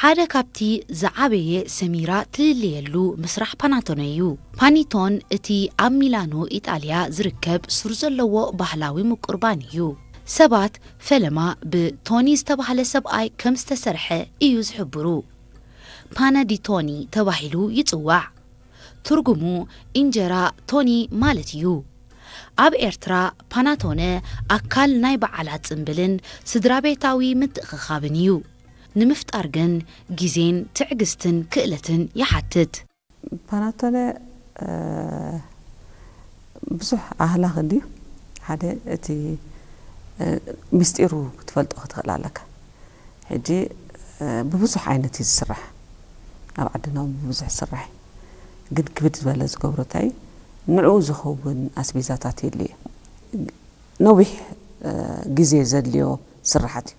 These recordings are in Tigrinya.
ሓደ ካብቲ ዝዓበየ ሰሚራ ትልለየሉ ምስራሕ ፓናቶነ እዩ። ፓኒቶን እቲ ኣብ ሚላኖ ኢጣልያ ዝርከብ ሱር ዘለዎ ባህላዊ ምቁር ባኒ እዩ። ሰባት ፈለማ ብቶኒ ዝተባህለ ሰብኣይ ከም ዝተሰርሐ እዩ ዝሕብሩ። ፓነ ዲ ቶኒ ተባሂሉ ይጽዋዕ። ትርጉሙ እንጀራ ቶኒ ማለት እዩ። ኣብ ኤርትራ ፓናቶነ ኣካል ናይ በዓላት ጽምብልን ስድራ ቤታዊ ምትእኽኻብን እዩ። ንምፍጣር ግን ግዜን ትዕግስትን ክእለትን ይሓትት። ፓናቶነ ብዙሕ ኣህላኽ እንድዩ። ሓደ እቲ ሚስጢሩ ክትፈልጦ ክትኽእል ኣለካ። ሕጂ ብብዙሕ ዓይነት እዩ ዝስራሕ። ኣብ ዓድና እውን ብብዙሕ ዝስራሕ እዩ። ግን ክብድ ዝበለ ዝገብሮ እንታይ እዩ? ንዕኡ ዝኸውን ኣስቤዛታት የድልዮ። ነዊሕ ግዜ ዘድልዮ ስራሓት እዩ።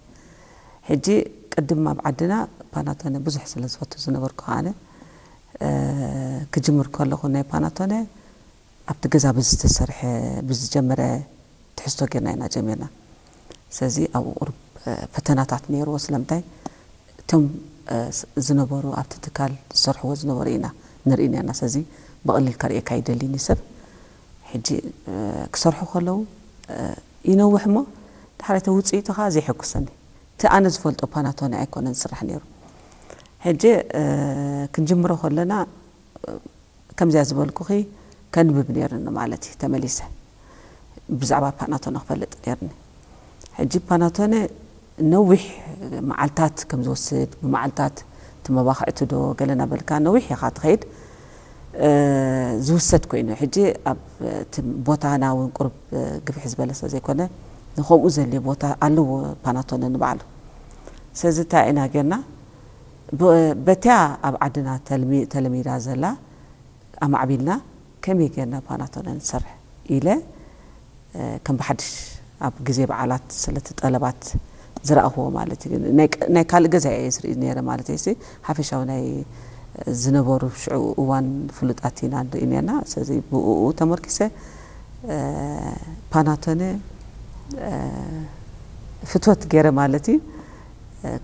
ሕጂ ቅድም ኣብ ዓድና ፓናቶነ ብዙሕ ስለ ዝፈቱ ዝነበርኩ ኣነ ክጅምር ከለኹ ናይ ፓናቶነ ኣብቲ ገዛ ብዝተሰርሐ ብዝጀመረ ትሕዝቶ ጌርና ኢና ጀሚርና። ስለዚ ኣብኡ ቁሩብ ፈተናታት ነይርዎ። ስለምንታይ እቶም ዝነበሩ ኣብቲ ትካል ዝሰርሕዎ ዝነበሩ ኢና ንርኢ ነርና። ስለዚ ብቐሊል ከርእየካ ኣይደልን እዩ ሰብ። ሕጂ ክሰርሑ ከለዉ ይነውሕ እሞ ዳሕራይ እቲ ውፅኢቱ ከዓ ዘየሐጉሰኒ። እቲ ኣነ ዝፈልጦ ፓናቶነ ኣይኮነን ዝስራሕ ነይሩ። ሕጂ ክንጅምሮ ከለና ከምዚኣ ዝበልኩኺ ከንብብ ነይርኒ ማለት እዩ። ተመሊሰ ብዛዕባ ፓናቶነ ክፈልጥ ነይርኒ። ሕጂ ፓናቶነ ነዊሕ መዓልታት ከም ዝወስድ፣ ብመዓልታት እቲ መባኽዕቲ ዶ ገለ እናበልካ ነዊሕ ኢኻ ትኸይድ። ዝውሰድ ኮይኑ ሕጂ ኣብ እቲ ቦታና እውን ቁሩብ ግፍሕ ዝበለ ስለ ዘይኮነ ንከምኡ ዘድልዮ ቦታ ኣለዎ ፓናቶነ ንባዕሉ። ስለዚ እንታይ ኢና ጌርና? በቲያ ኣብ ዓድና ተለሚዳ ዘላ ኣማዕቢልና ከመይ ጌርና ፓናቶነ ንሰርሕ ኢለ ከም ብሓድሽ ኣብ ግዜ በዓላት ስለቲ ጠለባት ዝረኣኽዎ ማለት እዩ። ናይ ካልእ ገዛ እየ ዝርኢ ነይረ ማለት እዩ። ሓፈሻዊ ናይ ዝነበሩ ሽዑ እዋን ፍሉጣት ኢና ንርኢ ነርና። ስለዚ ብኡ ተመርኪሰ ፓናቶነ ፍትወት ገይረ ማለት እዩ።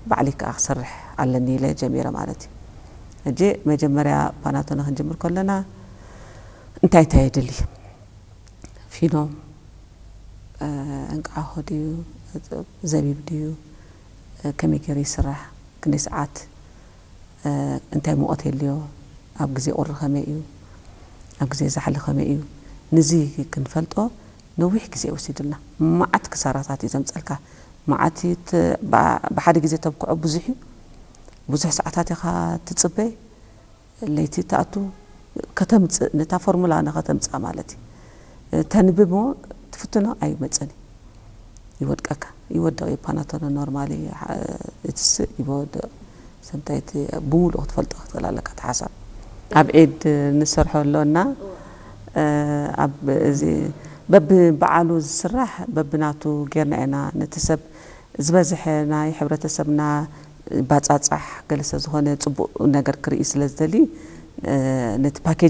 ባዕለይ ከዓ ክሰርሕ ኣለኒ ኢለ ጀሚረ ማለት እዩ። ሕጂ መጀመርያ ፓናቶነ ክንጅምር ከለና እንታይ እንታይ የድሊ? ፊኖ፣ እንቃሖ ድዩ፣ ዘቢብ ድዩ፣ ከመይ ገይሩ ይስራሕ፣ ክንደይ ሰዓት፣ እንታይ ሙቐት የድልዮ፣ ኣብ ግዜ ቁሪ ከመይ እዩ፣ ኣብ ግዜ ዛሕሊ ከመይ እዩ፣ ንዚ ክንፈልጦ ነዊሕ ግዜ ወሲዱልና። መዓት ክሳራታት እዩ ዘምፀልካ። መዓት ብሓደ ግዜ ተብክዖ ብዙሕ እዩ። ብዙሕ ሰዓታት ኢኻ ትፅበ። ለይቲ ትኣቱ ከተምፅእ፣ ነታ ፎርሙላ ንኸተምፅኣ ማለት እዩ። ተንብብ እሞ ትፍትኖ ኣይመፅን እዩ። ይወድቀካ፣ ይወድቕ እዩ። ፓናቶነ ኖርማሊ እቲ ስእ ይወድቕ። ሰምታይ እቲ ብምሉእ ክትፈልጦ ክትኽእል ኣለካ እቲ ሓሳብ። ኣብ ዒድ ንሰርሖ ኣሎና። ኣብ እዚ በብበዓሉ ዝስራሕ በብናቱ ጌርና ኢና ነቲ ሰብ ዝበዝሐ ናይ ሕብረተሰብና ባጻጻሕ ገለ ስለ ዝኾነ ጽቡቕ ነገር ክርኢ ስለ ዝደሊ ነቲ ፓኬጅ